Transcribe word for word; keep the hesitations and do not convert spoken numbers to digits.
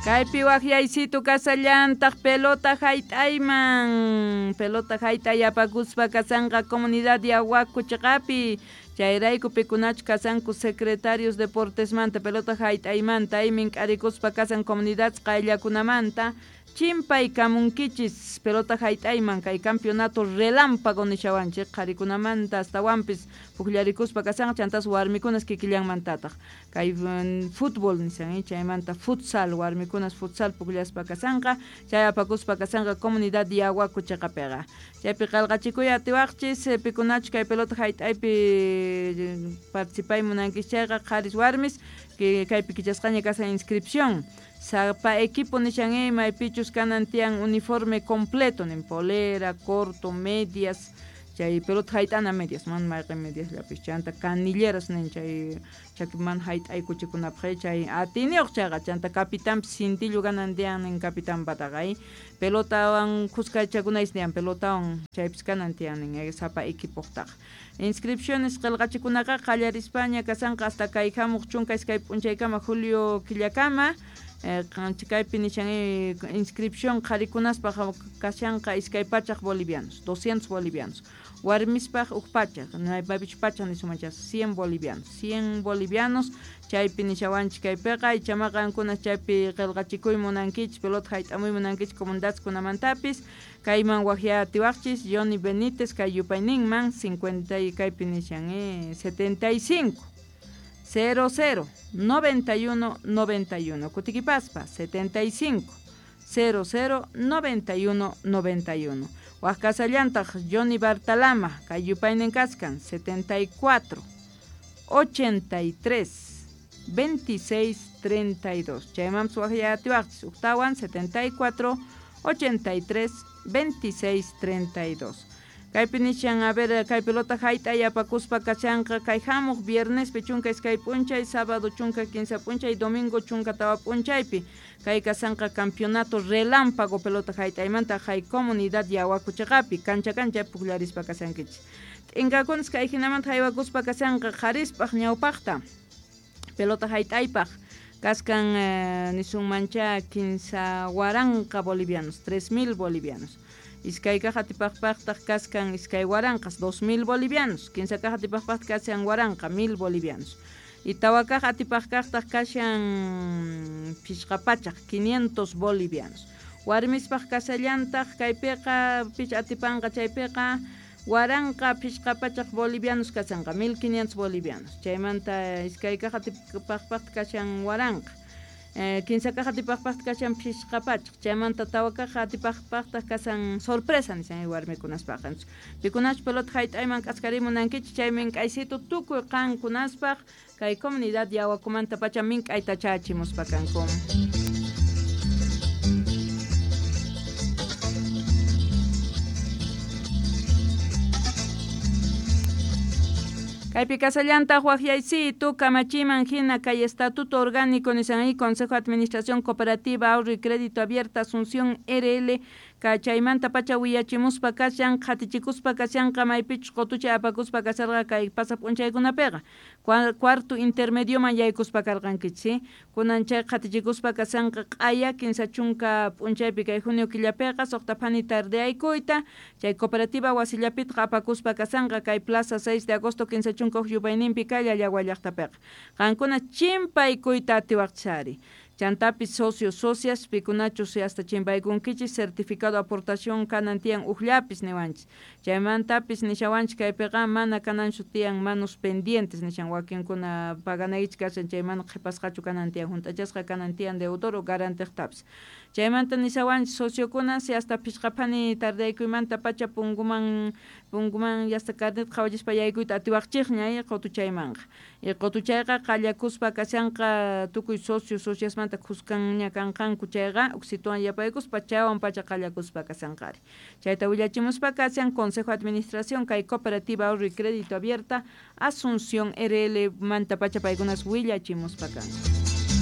Kaypi waqyaysitu kasallantaq pelota hayt'ayman pelota hayt'ay apakuspa kasanqa comunidad Yahuaco chiqapi chayrayku pikunachu kasanku secretarios deportesmanta pelota hayt'aymanta aymin k'arikuspa kasan comunidad qayllakunamanta chimpay kamunkichis pelota hayt'ayman kay campeonato relámpago nishawanchik qharikunamanta astawanpis pukllarikuspa kasanqa chantas warmikunas kikillanmantataq kay fútbol nishan chaymanta futsal warmikunas futsal pukllaspa kasanqa chay apakuspa kasanqa comunidad Yahuaco chiqapiqa chaypi qillqachikuy atiwaqchis pikunachu kay pelota hayt'aypi participay munankichis chayqa qharis warmis kaypi kichasqaña kasan inscripción sapa equipo nishan maypichus kanan tiyan uniforme completo nin polera, corto, medias chay pelota hayt'ana medias man mayqin medias llapis chanta canilleras nin chay chakiman hayt'aykuchikunapaq chay atiniyuq chayqa chanta capitanpis cintillo kanan tiyan nin capitanpataqa pelotawan khuskachakunaysi tiyan pelotawan chaypis kanan tiyan nin sapa equipoqtaqa inscripciones qillqachikunaqa qallarispaña kasanqa hasta kay hamuq chunka iskay p'unchaykama julio killakama kaypi nishan inscripción qharikunaspaq kashanqa iskay pachaq bolivianos doscientos bolivianos warmispaq huk pachaq maypichu pachaq nisumanchas cien bolivianos cien bolivianos chaypi nishawanchik kaypiqa ichama qankuna chaypi qillqachikuy munankichis pelota hayt'amuy munankichis comunidadkunamantapis kayman waqyatiwaqchis Johnny Benítez kay yupayninman cincuenta y kaypi nishan eh, setenta y cinco cero cero noventa y uno noventa y uno Kutiquipaspa setenta y cinco cero cero noventa y uno noventa y uno Huascasallantaq Johnny Bartalama kay yupaynin kaskan setenta y cuatro ochenta y tres veintiséis treinta y dos chaymanpis waqyatiwaqchis uktawan setenta y cuatro ochenta y tres veintiséis treinta y dos Kaypi nishan a ver kay pelota hayt'ay apakuspa kashanqa kay hamuq viernespi chunka iskay p'unchay sábado chunka kinsa p'unchay domingo chunka tawa p'unchaypi kay kasanqa campeonato relámpago pelota hayt'aymanta hay comunidad Yahuaco chiqapi kancha kancha pukllarispa kasankichis t'inkakunas kay hinamanta haywakuspa kasanqa qharispaq ñawpaqta pelota hayt'aypaq kaskan eh, nisunmancha kinsa waranqa bolivianos tres mil bolivianos iskay kaq atipaqpaqtaq kaskan iskay waranqas dos mil bolivianos kinsa kaq atipaqpaqtaq kashan waranqa mil bolivianos y tawa kaq atipaqkaqtaq kashan phishqa pachaq quinientos bolivianos warmispaq kasallantaq kaypiqa pich atipanqa chaypiqa waranqa phishqa pachaq bolivianos kasanqa mil quinientos bolivianos chaymanta iskay kaq atipaqpaqtaq kashan waranqa Eh, kinsa kaq atipaqpaqtaq kashan phishqa pachaq chaymanta tawa kaq atipaqpaqtaq kasan sorpresa nishan warmikunaspaq pikunachu pelota hayt'ayman k'askarimunankichik chay mink'aysitu tukuy qankunaspaq kay comunidad Yahuacomanta pacha mink'ayta chachimuspa kanku. Kaypi kasallantaq waqyaysitu kamachiman hina kay Estatuto Orgánico nishan Consejo de Administración Cooperativa Ahorro y Crédito Abierta Asunción R L kachaymanta pacha willachimuspa kashan qhatichikuspa kashanqa maypichus qutucha apakuspa kasharqa kay pasa p'unchaykunapiqa cuarto intermedioman yaykuspa karqankichis kunan chay qhatichikuspa kashanqa q'aya kinsa chunka p'unchaypi kay junio killapiqa suqta phani tardeaykuyta chay cooperativa wasillapitqa apakuspa kashanqa kay plaza seis de agosto kinsa chunka huk yupayninpi kay Llallagua llaqtapiqa qankuna chimpaykuyta atiwaqchari chantapis socios socias pikunachus hasta chimpaykunkichis certificado aportación kanan tiyan ukllapis niwanchis chaymantapis nishawanchis kaypiqa mana kananchu tiyan manos pendientes nishan wakinkuna paganaykichik kashan chay mana qhipasqachu kanan tiyan hunt'achasqa kanan tiyan deudor o garantiqtapis chaymanta nishawanchis sociokuna si hasta phishqa phani tardaykuymanta pacha punguman punguman hasta carnet qhawachispa yaykuyta atiwaqchikña qutuchaymanqa y qutuchayqa qallakuspa kashanqa tukuy socio sociasmanta khuskanña kanqanku chayqa uksituwan yapaykuspa chaywan pacha qallakuspa kasanqari chayta willachimuspa kashan Consejo de Administración kay Cooperativa Ahorro y Crédito Abierta Asunción R L manta pacha paykunas willachimuspa kanku.